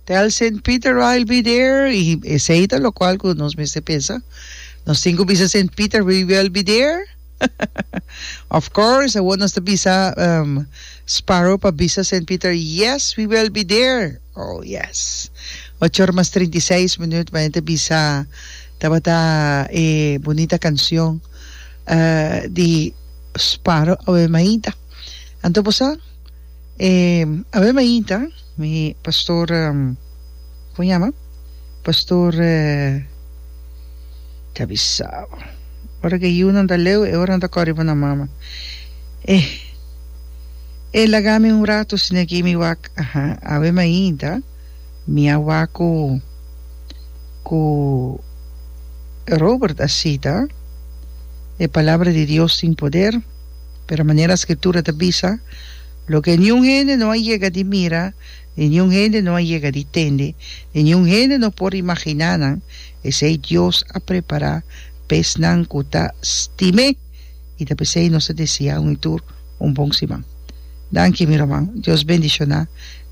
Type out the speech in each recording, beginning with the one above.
Tell Saint Peter I'll be there y esey ta locual cu nos mester pensa. Nos tin cu bisa Saint Peter we will be there. Of course, awor nos ta bisa Sparrow pa bisa Saint Peter yes we will be there. Oh yes. Ocho ora mas 36 minuut ma ta bisa tabata e bunita cancion di Sparrow awe mainta. Anto bo sa? E awe mainta mi pastor como yama pastor ta bisa bo ora ke yunan ta leu e ora nan ta kore riba nan mama e e laga mi un rato asina aki mi wak aha awe mainta mi a wak ku ku Robert a sita e palabra di Dios tin poder. Pero manera Scritura ta bisa, Loke niun hende no a yega di mira, ni niun hende no a yega di tende, ni niun hende no por imaginá nan, esei Dios a prepará pa esnan ku ta stim'é. I ta p'esei nos ta deseá un i tur un bon siman. Danki, mi ruman. Dios bendishoná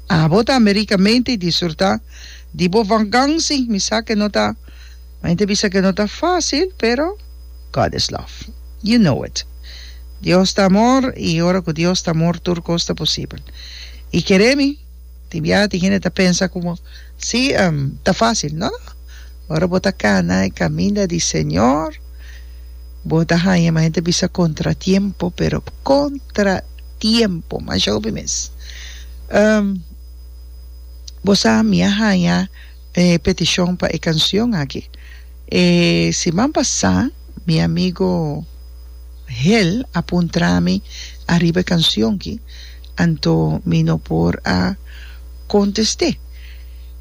abo tambe rikamente i disfrutá di bo vakansi. Mi sa ke no ta, mi ta bisa ke no ta fásil, pero. God is love. You know it. Dios ta amor y ora cu Dios ta amor tur cos ta posibel. Y kere mi, tin biaha tin hende ta pensa como si ta facil. No, no. Ora bo ta cana e caminda di Señor, bo ta haña ma hende ta bisa contratiempo, pero contratiempo masha hopi mes. Bo sa mi a haña e peticion pa e cancion aki. E siman pasá mi amigo Hel a puntra mi ariba e kansion ki, anto mi no por a kontest'é.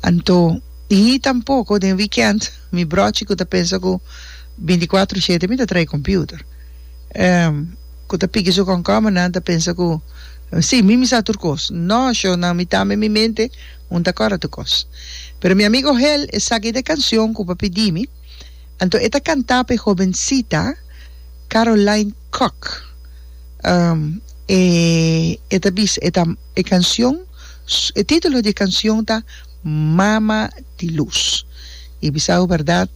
Anto i tampoko den wikènt mi bròchi ku ta pensa ku bintikuatro shete mi ta trae kompiuter, ku ta piki su kònkòmernan ta pensa ku si mi mi sa tur kos. No, shownan mi tambe mi mente Un ta kòrda tur kos. Pero mi amigo Hel esaki ta e kansion ku bo a pidi mi, anto e ta kantá pa e hobensita Caroline Kock. E e ta bisa e ta e kansion e título di e kansion ta Mama di Lus. I bisa bo bèrdat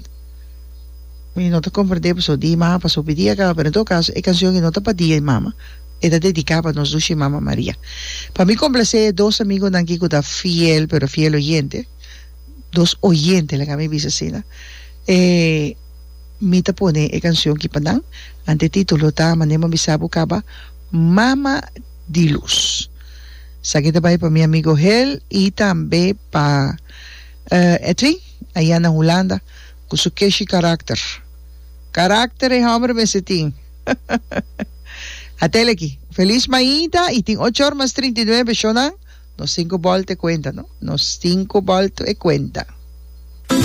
mi no ta komprendé pasobra di mama pasó pidi a kaba pero en todo kaso e kansion aki no ta pa dia di mama. E ta dediká pa nos dushi Mama Maria. Pa mi komplasé e dos amigonan aki ku ta fiel, pero fiel oyente, dos oyente laga mi bisa asina, e mi ta pone e kanshon aki pa nan. Ante e título ta manera mi a bisa bo kaba, Mama di Lus. Esaki ta bai pa mi amigo Hel i tambe pa Edwin aya na Hulanda ku su keshi karakter. Karakter e hòmber mester tin. Atel aki. Feliz mainta y tin ocho or mas 39 shonan. Nos tin cu bolta e cuenta, no? Nos tin cu bolta e cuenta.